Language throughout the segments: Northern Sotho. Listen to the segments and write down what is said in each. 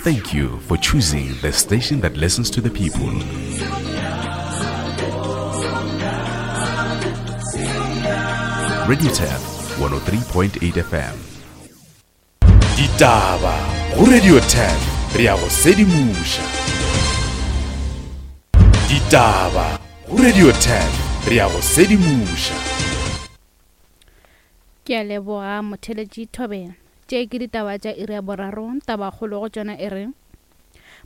Thank you for choosing the station that listens to the people. Radio Tap 103.8 FM. Ditaba go Radio 10 re ya go sedimoša. Ditaba go Radio 10 re ya go sedimoša. Ke a leboga motheletši Thobela. Tše ke ditaba tša iri ya boraro, tabakgolo go tšona e re,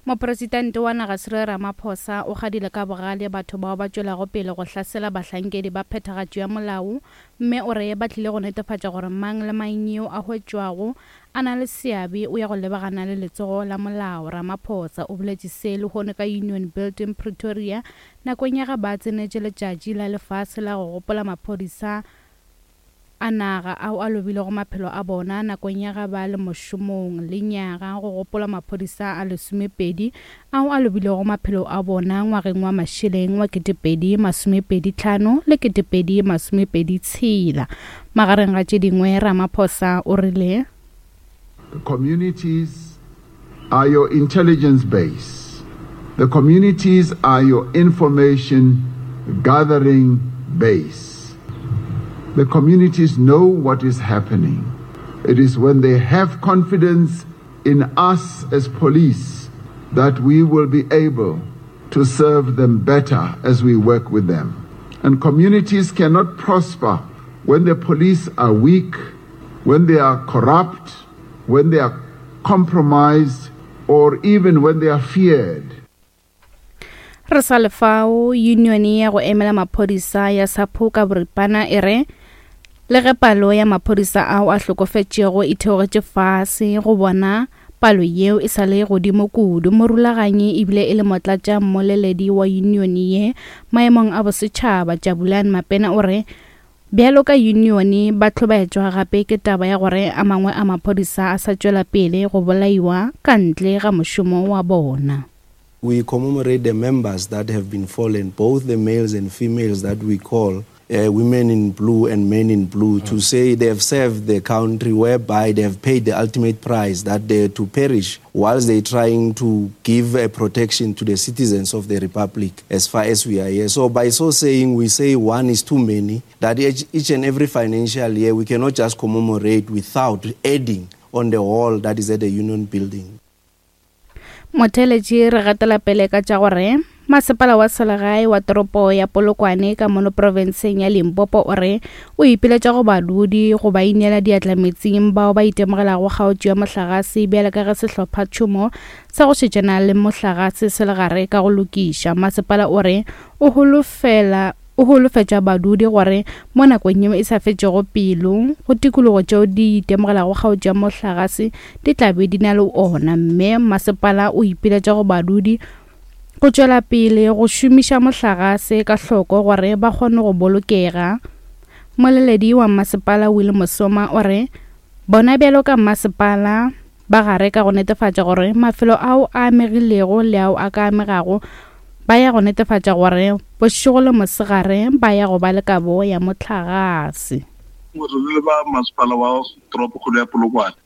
Mopresidente wa naga Cyril Ramaphosa o kgadile ka bogale batho bao ba tšwelago pele go hlasela bahlankedi ba phethagatšo ya molao mme o re ba tlile go netefatša gore mang le mang yo a hwetšwago a na le seabe o ya go lebagana le letsogo la molao. Ramaphosa o boletše se lehono ka Union Building Pretoria nakong ya ge ba tsenetše letšatši la lefase la go gopola maphodisa a naga ao a lobilego maphelo a bona nakong ya ge ba le mošomong lenyaga go gopolwa maphodisa a lesomepedi ao a lobilego maphelo a bona ngwageng wa mašeleng wa 2025 le 2026. Magareng ga tše dingwe, Ramaphosa o rile. The communities are your intelligence base. The communities are your information gathering base. The communities know what is happening. It is when they have confidence in us as police that we will be able to serve them better as we work with them. And communities cannot prosper when the police are weak, when they are corrupt, when they are compromised, or even when they are feared. Re sa le fao, yunione ya go emela maphodisa ya SAPO ka boripana e re le ge palo ya maphodisa ao a hlokofetšego e theogetše fase, go bona palo yeo e sa le godimo kudu. Morulaganyi ebile e le motlatša mmoleledi wa yunione ye maemong a bosetšhaba, Jabulani Mapena o re Bjalo ka yunione, ba hlobaetšwa gape ke taba ya gore a mangwe a maphodisa a sa tšwela pele go bolaiwa ka ntle ga mošomo wa bona. We commemorate the members that have been fallen, both the males and females that we call women in blue and men in blue, to say they have served the country whereby they have paid the ultimate price, that they to perish whilst they trying to give a protection to the citizens of the republic as far as we are here. So by so saying, we say one is too many, that each, each and every financial year we cannot just commemorate without adding on the hall that is at the union building. Motheeletši re gatela pele ka tša gore Masepala wa selegae wa toropo ya Polokwane ka mono profenseng ya Limpopo o re o ipiletša go badudi go ba ineela diatla metsing bao ba itemogelago kgaotšo ya mohlagase bjale ka ge sehlopha tšhomo sa go šetšana le mohlagase se le gare ka go lokiša. Masepala o re o holofela o holofetša badudi gore mo nakong yeo e sa fetšego pelo go tikologo tšeo di itemogelago kgaotšo ya mohlagase di tla be di na le ona mme masepala o ipiletša go badudi go tšwela pele go šomiša mohlagase ka hloko gore ba kgone go bolokega. Mmoleledi wa mmasepala Will Mosoma o re bona bjalo ka mmasepala ba gare ka go netefatša gore mafelo ao a amegilego le ao a ka amegago ba ya go netefatša gore bošego le mosegare ba ya go ba le kabo ya mohlagase. Re le ba masepala wa toropokgolo ya Polokwane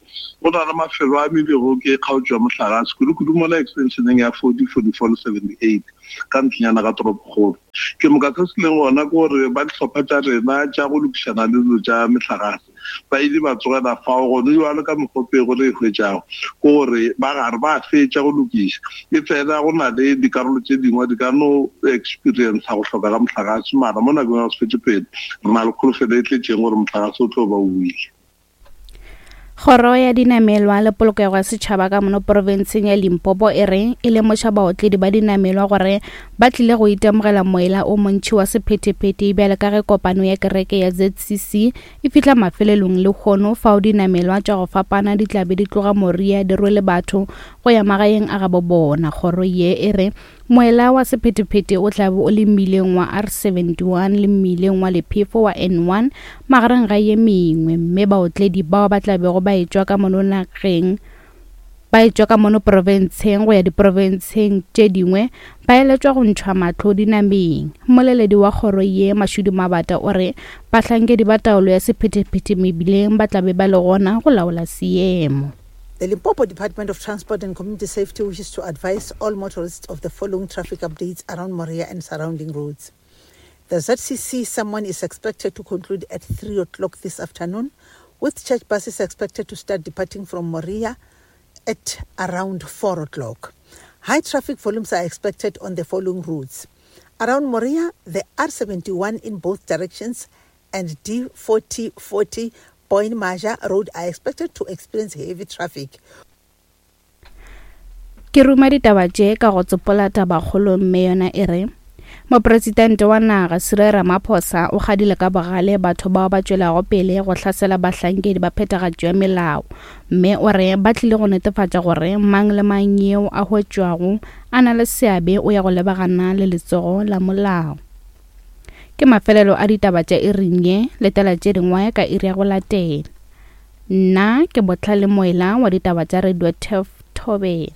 Go na le mafelo a amilwego ke kgaotšo ya mohlagase, kudu-kudu mola extensioneng ya 40, 44 le 78 ka ntlenyana ga toropokgolo. Ke moka se se leng gona ke gore ba dihlopha tša rena tša go lokišana le dilo tša mehlagase ba ile ba tsogela fao. Gone bjalo ka mokgwa pego re e hwetšago ke gore ba gare ba fetša go lokiša, efela go na le dikarolo tše dingwe di ka no experiencer go hloka ga mohlagase, mara mo nakong ya go se fetše pelo re na le kholofelo e tletšeng gore mohlagase o tlo ba o boile. Kgoro ya Dinamelwa le Polokego ya Setšhaba ka mono profenseng ya Limpopo e re e lemoša baotledi ba dinamelwa gore ba tlile go itemogela moela o montši wa sephethephethe bjale ka ge kopano ya kereke ya ZCC e fihla mafelelong lehono fao dinamelwa tša go fapana di tla be di tloga Moria di rwele batho go ya magaeng a gabo bona. Kgoro ye e re Moela wa sephethephethe o tla be o le mmileng wa R71 le mmileng wa lephefo wa N1 magareng ga ye mengwe, mme baotledi bao ba tla bego ba etšwa ka mono nageng ba etšwa ka mono profenseng go ya diprofenseng tše dingwe ba eletšwa go ntšhwa mahlo dinameng. Mmoleledi wa kgoro ye, Mashudu Mabata, o re bahlankedi ba taolo ya sephethephethe mebileng ba tla be ba le gona go laola seemo. The Limpopo Department of Transport and Community Safety wishes to advise all motorists of the following traffic updates around Moria and surrounding roads. The ZCC someone is expected to conclude at 3 o'clock this afternoon, with church buses expected to start departing from Moria at around 4 o'clock. High traffic volumes are expected on the following routes. Around Moria, the R71 in both directions and D4040 Point Maja Road are expected to experience heavy traffic. Ke ruma ditaba tše ka go tsopola tabakgolo mme yona e re Mopresidente wa naga Cyril Ramaphosa o kgadile ka bogale batho bao ba tšwelago pele go hlasela bahlankedi ba phethagatšo ya melao mme o re ba tlile go netefatša gore mang le mang yeo a hwetšwago a na le seabe o ya go lebagana le letsogo la molao. Ke mafelelo a ditaba tša iring ye, letela tše dingwe ka iri ya go latela. Nna ke Bohlale Moela wa ditaba tša Radio Turf Thobela.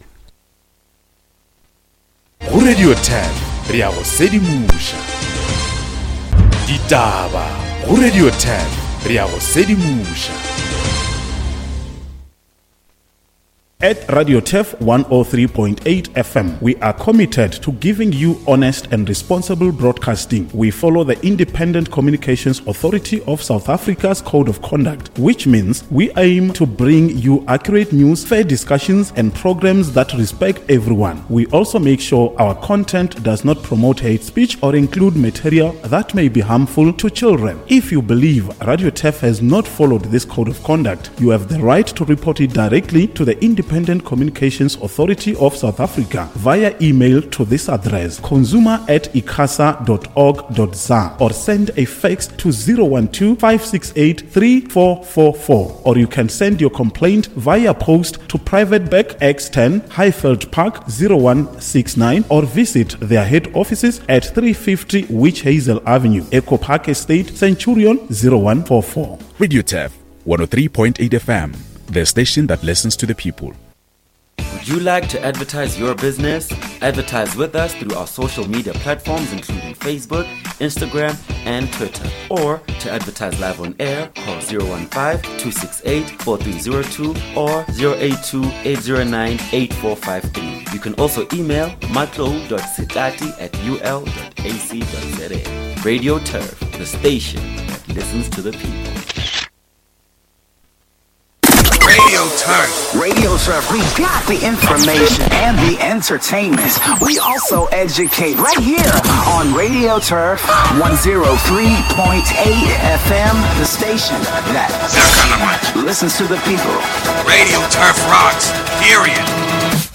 Go Radio Turf re ya go sedimoša. Ditaba go Radio Turf re ya go sedimoša. At Radio Turf 103.8 FM, we are committed to giving you honest and responsible broadcasting. We follow the Independent Communications Authority of South Africa's Code of Conduct, which means we aim to bring you accurate news, fair discussions, and programs that respect everyone. We also make sure our content does not promote hate speech or include material that may be harmful to children. If you believe Radio Turf has not followed this code of conduct, you have the right to report it directly to the Independent Communications Authority of South Africa via email to this address consumer at icasa.org.za or send a fax to 012 568 3444 or you can send your complaint via post to Private Bank X10 Highveld Park 0169 or visit their head offices at 350 Witch Hazel Avenue, Echo Park Estate, Centurion 0144. Radio Turf 103.8 FM, the station that listens to the people. Would you like to advertise your business? Advertise with us through our social media platforms, including Facebook, Instagram, and Twitter. Or to advertise live on air, call 015 268 4302 or 082 809 8453. You can also email matlo.sitati at ul.ac.za. Radio Turf, the station that listens to the people. Radio Turf. Radio Turf. We got the information and the entertainment. We also educate right here on Radio Turf 103.8 FM, the station that listens to the people. Radio Turf rocks. Here